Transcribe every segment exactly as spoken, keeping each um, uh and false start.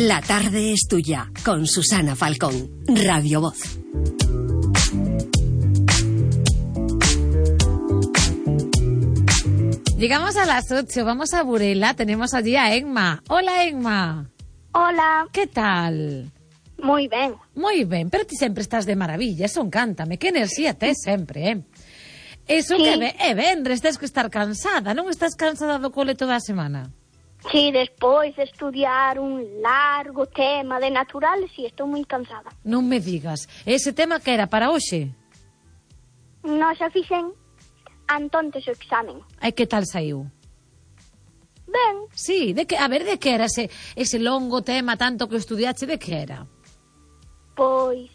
La tarde es tuya, con Susana Falcón, Radio Voz. Llegamos a las ocho, vamos a Burela, tenemos allí a Emma. Hola, Emma. Hola. ¿Qué tal? Moi ben. Moi ben, pero ti sempre estás de maravilla, eso encántame, que enerxía tes sempre, eh? Eso Sí. que ve, é venres, tens que estar cansada, non estás cansada do cole toda a semana? Sí, despois de estudiar un largo tema de naturales, sí, estou moi cansada. Non me digas, ese tema que era para hoxe? Nós xa fixen antontes o examen. Ai, que tal saiu? Ben, Sí, de que, a ver, de que era ese, ese longo tema tanto que estudiache, de que era? pois,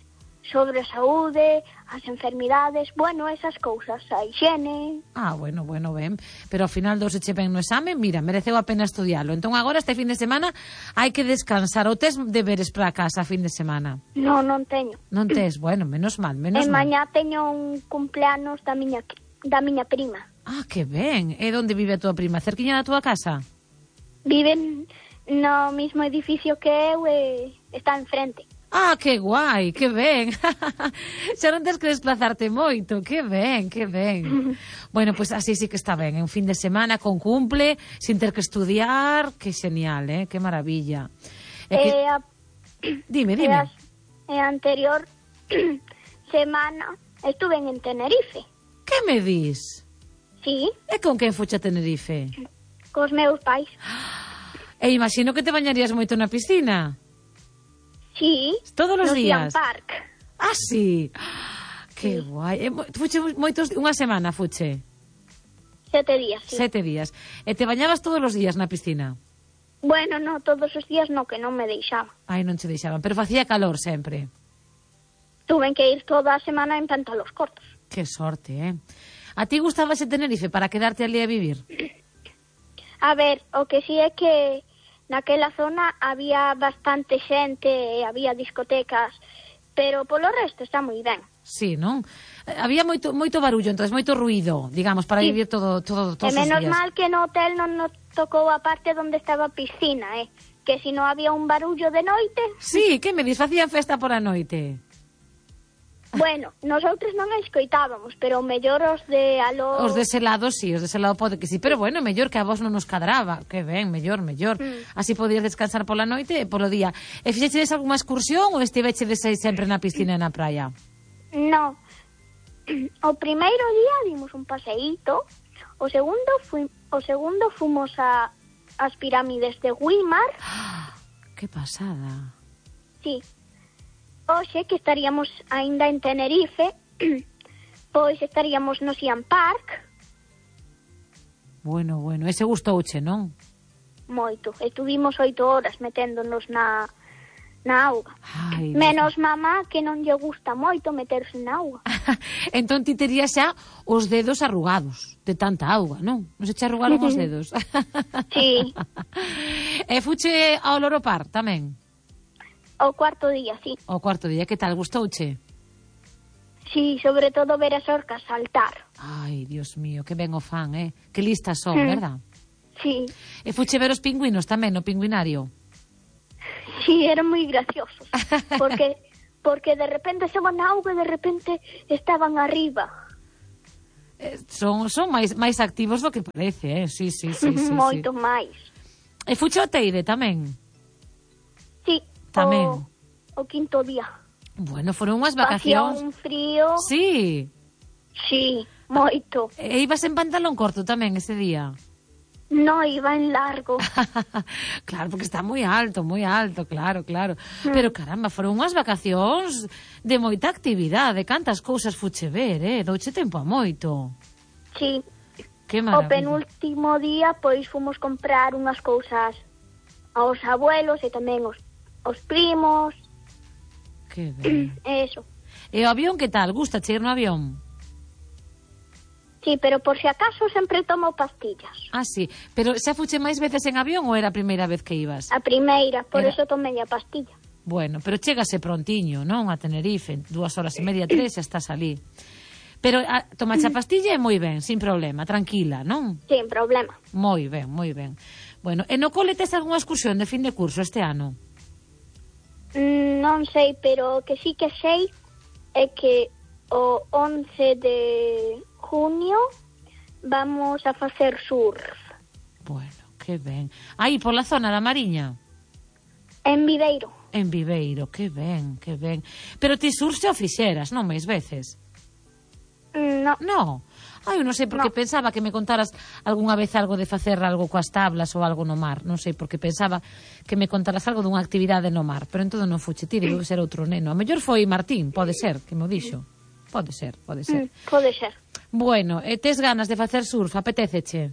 sobre a saúde, as enfermidades, bueno, esas cousas, a higiene... Ah, bueno, bueno, ben. Pero ao final dose che ben no examen, mira, mereceu a pena estudialo. Entón agora, este fin de semana, hai que descansar. Ou tes deberes para casa a fin de semana? Non, non teño. Non tes? Bueno, menos mal, menos E mal. mañá teño un cumpleanos da miña, da miña prima. Ah, que ben. E onde vive a tua prima? Cerquiña da tua casa? Viven no mismo edificio que eu e está enfrente. Ah, que guai, que ben. Xa non tens que desplazarte moito. Que ben, que ben. Bueno, pois pues así sí que está ben. En fin de semana con cumple, sin ter que estudiar. Que genial, eh? Que maravilla. E que... E a, Dime, e dime. a, e a anterior semana estuve en Tenerife. Que me dis? Sí, E con quen fuche a Tenerife? cos meus pais. E imagino que te bañarías moito na piscina. Sí, Todos os no días. Ocean Park. Ah, sí. Que guai. E, mo- fuche moitos, unha semana fuche. Sete días, sí. Sete días. E te bañabas todos os días na piscina? Bueno, no, todos os días no, que non me deixaba. Ai, non che deixaban. Pero facía calor sempre. Tuve que ir toda a semana en pantalos cortos. Que sorte, eh? A ti gustabase Tenerife para quedarte ali a vivir? A ver, o que sí é que naquela zona había bastante xente, e había discotecas, pero polo resto está moi ben. Sí, non? Eh, Había moito moito barullo, entonces moito ruido, digamos, para Sí. vivir todo todo E todos os menos días. mal que no hotel non nos tocou a parte onde estaba a piscina, eh? Que si no había un barullo de noite... Sí, que me dis, facían festa por a noite. Bueno, nosotros non a escoitábamos, pero mellor os de aló... Os dese lado, sí, os dese lado pode que sí, pero bueno, mellor que a vos non nos cadraba, que ben, mellor, mellor. Mm. Así podías descansar pola noite e polo día. E fixechedes algunha excursión ou estivechedes aí sempre na piscina e na praia? No. O primeiro día dimos un paseíto, o segundo fui, o segundo fomos a as pirámides de Güímar, Que pasada. sí. Oxe, que estaríamos aínda en Tenerife, pois estaríamos no Ocean Park, Bueno, bueno, ese gustouche, non? moito. Estuvimos oito horas meténdonos na, na auga. Ai, Menos mamá, que non lle gusta moito meterse na auga. entón ti terías xa os dedos arrugados de tanta auga, non? Non se che arrugaron os dedos? Sí, E fuche ao Loro Park tamén? o cuarto día, sí. O cuarto día, que tal, gustouche? Sí, sobre todo ver as orcas saltar. Ai, Dios mío, que ben o fan, eh? Que listas son, Mm. verdad? Sí, E fuche ver os pingüinos tamén no pingüinario? sí, eran moi graciosos. Porque porque de repente estaban na auga e de repente estaban arriba. Eh, son son máis máis activos do que parece, eh? Sí, sí, sí, sí, sí. Moito máis. E fuche ao Teide tamén? Sí, Tamén. O, o quinto día. Bueno, foron unhas Facía vacacións. un frío. Sí. Sí, moito. E ibas en pantalón corto tamén ese día? No, iba en largo. Claro, porque está moi alto, moi alto, claro, claro. Pero caramba, foron unhas vacacións de moita actividade, cantas cousas fuche ver, eh? Douche tempo a moito. Sí. Que O maravilla. penúltimo día, pois, fomos comprar unhas cousas aos abuelos e tamén os, os primos. Que ben. Eso. E o avión que tal? Gusta che ir no avión? Sí, pero por si acaso sempre tomo pastillas. Ah, sí. Pero xa fuche máis veces en avión ou era a primeira vez que ibas? A primeira, por Era- eso tomei a pastilla. Bueno, pero chégase prontiño, non? A Tenerife, dúas horas e media, tres, xa estás ali. Pero a, tomache a pastilla e moi ben, sin problema, tranquila, non? Sin problema. Moi ben, moi ben. Bueno, e no cole tes algunha excursión de fin de curso este ano? Mm, non sei, pero o que sí que sei é que o once de junio vamos a facer surf. Bueno, que ben. Aí, pola zona da Mariña? En Viveiro. En Viveiro, que ben, que ben. Pero ti surf xa o fixeras, non máis veces? Mm, no. No. Ai, eu non sei porque No. pensaba que me contaras algunha vez algo de facer algo coas tablas ou algo no mar. Non sei, porque pensaba que me contaras algo dunha actividade no mar. Pero en todo non fuche ti, debe ser outro neno. A mellor foi Martín, pode ser, que mo dixo. Pode ser, pode ser. Mm, pode ser. Bueno, e tes ganas de facer surf, apetéceche?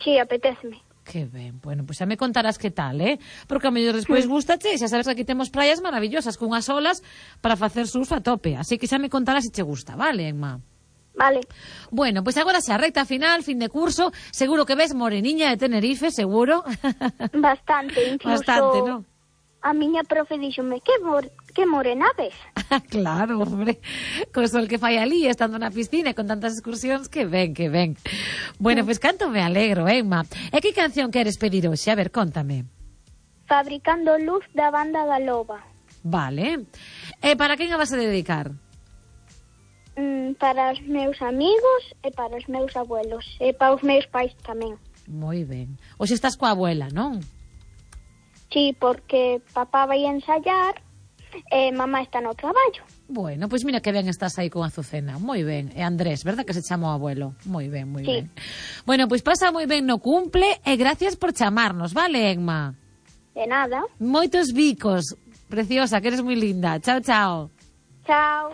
Sí, apetéceme. Que ben, bueno, pois pues xa me contarás que tal, eh? Porque a mellor despois gustache, xa sabes que aquí temos praias maravillosas cunhas olas para facer surf a tope, así que xa me contarás se che gusta, vale, Emma? Vale. Bueno, pois pues agora xa recta final, fin de curso, seguro que ves moreniña de Tenerife, seguro. Bastante, incluso. Bastante, non? A miña profe díxome, que, mor que morena ves? Claro, hombre, co sol que fai ali, estando na piscina e con tantas excursións, que ben, que ben. Bueno, pois pues, canto me alegro, Emma. E que canción queres pedir hoxe? A ver, contame. Fabricando luz da banda da Loba. Vale. E para quen a vas a dedicar? Mm, para os meus amigos e para os meus abuelos. E para os meus pais tamén. Moi ben. Hoxe estás coa abuela, non? Sí, porque papá vai ensayar e mamá está no traballo. Bueno, pois mira que ben estás aí con Azucena. Moi ben. E Andrés, verdad que se chama o abuelo? Moi ben, moi Sí. ben. Bueno, pois pasa moi ben no cumple e gracias por chamarnos, vale, Emma? De nada. Moitos bicos. Preciosa, que eres moi linda. Chao, chao. Chao.